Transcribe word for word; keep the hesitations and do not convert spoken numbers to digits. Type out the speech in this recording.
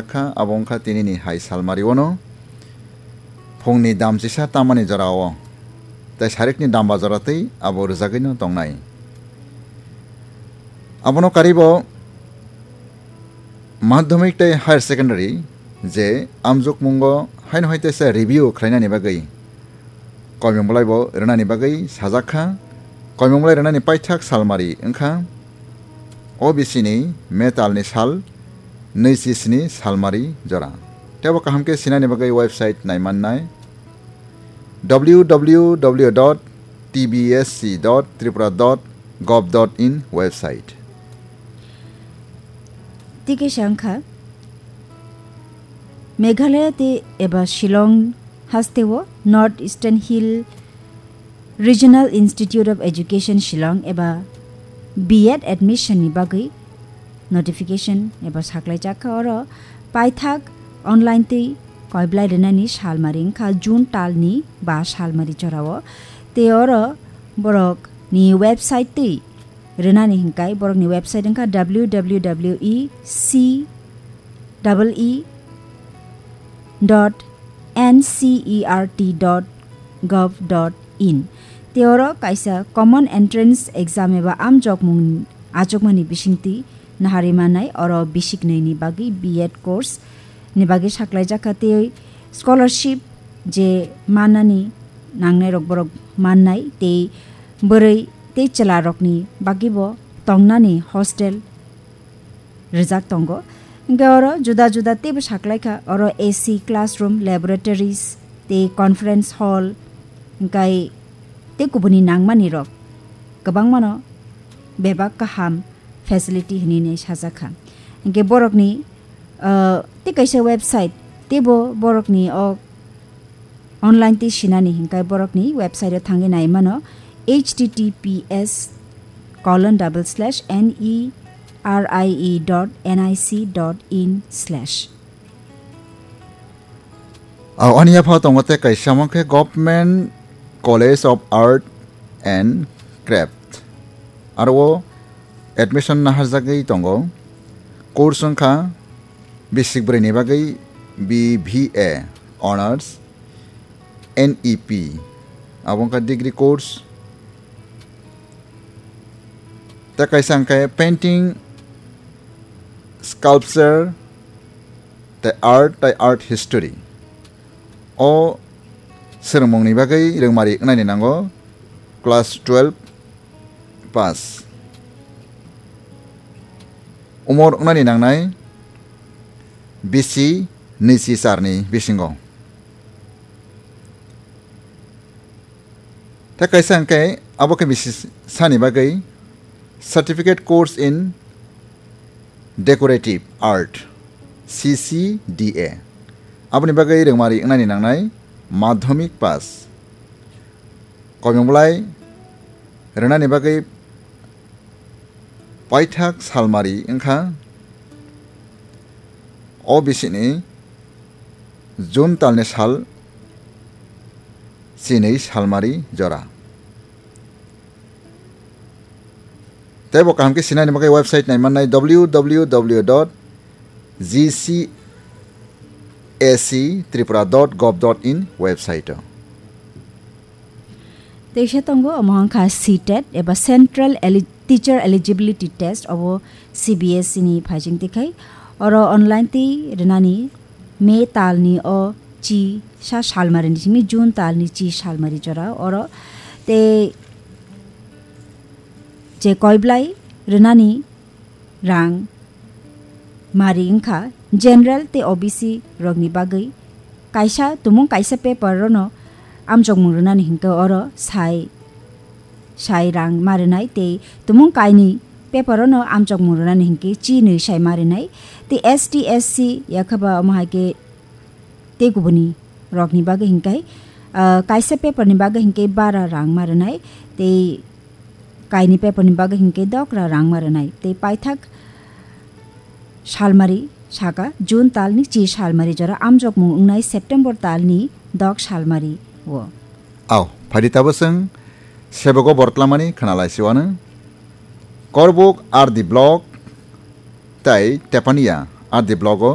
kha, abo wngkha tinini hai salmari ono phungni dam chisa tamani jorao tei sarikni damba jora tei abo rwjagwino tongnai. Abono karibo madhyamik tei higher secondary je amjokmungo haino hai teisa review khlainani bagwi koimung bolaibo rwnani bagwi sajak kha. Koimung bolai rwnani paithak salmari wngkha O B C ni metalni sal nui chi sni salmari jora. Teibo kaham khe sinani bagwi website naimannai w w w dot t b s c dot tripura dot gov dot in website. Tei kaisa wngkha Meghalaya tei eba Shillong hasteo North Eastern Hill Regional Institute of Education Shillong eba B Ed admission ni bagwi notification eba saklaijak kha. Oro paithak online twi koiblai rwnani salmari wngkha June talni ba salmari jorao. Tei oro borokni website twi rwnani hinkai borokni website wngkha w w w e c e e dot n c e r t dot gov dot in. Tei oro kaisa Common Entrance Exam eba amjokmung achukmani bisingtwi nahari manai, oro bisiknwini bagwi B Ed course ni bagwi saklaijak kha, tei scholarship je manani nangnairok borok mannai, tei bwrwi tei chwlarokni bagwibo tongnani hostel rijak tongo. Hingke oro juda juda teibo saklaikha, oro A C classroom, laboratories tei conference hall, hingkai tei kubuni nangmani rok kwbangmano bebak kaham facility hinui sajakha. Hingke borokni, ah, tei kaisa website, teibo borokni o online tei sinani hinkai borokni website o thangwi nai mano, H T T P S colon double slash N E R I E dot N I C dot in slash. Ani yapha tongo tei kaisa wngkhe Government College of Art and Craft. Aro o admission naharjagwi tongo. Course wngkha bisik bwrwini bagwi B B A Honours, N E P, abo wngkha degree course. Tei kaisa hwnkhe painting, sculpture, tei art, tei art history. O swrwngmungni bagwi rwngmari wngnani nango class twelve pass. Umor wngnani nangnai bisi nui chi charni bisingo. Tei kaisa hwnkhe abo khe bisi sani bagwi Certificate Course in Decorative Art, C C D A. Aboni bagwi rwngmari wngnani nangnai madhyamik pass. Koimung bolai rwnani bagwi paithak salmari wngkha O B C ni June talni sal chinwi salmari jora. Teibo kaham khe sinani bagwi website naimannai w w w dot g c a c tripura dot gov dot in website o. Teisa tongo, omo wngkha C tet eba Central Eli-, Teacher Eligibility Test, obo C B S E ni phaijing tikhai. Oro online twi rwnani May talni o chi sa salmari ni simi June talni chi salmari jora oro. Tei je koiblai rwnani rang mari wngkha general tei O B C rokni bagwi. Kaisa tumung kaisa paper rono amjokmung rwnani hinkhe oro sai, sai rang marinai tei tumung kainwi paper rono amjokmung rwnani hinkhe chi nwi sai marinai tei S T S C yakhaba omo hai khe tei kubuni rokni bagwi hinkhe, ah, kaisa paper ni bagwi hinkhe bara rang marinai tei kaini paper ni bagwi hinkhe dokra rang marinai tei paithak salmari saka June talni chi salmari jora amjokmung wngnai September talni dok salmari o. Au, phaidi tabaswng sebogo bortlamani khanalai siwano. Korbuk R D block tai Tepania R D block o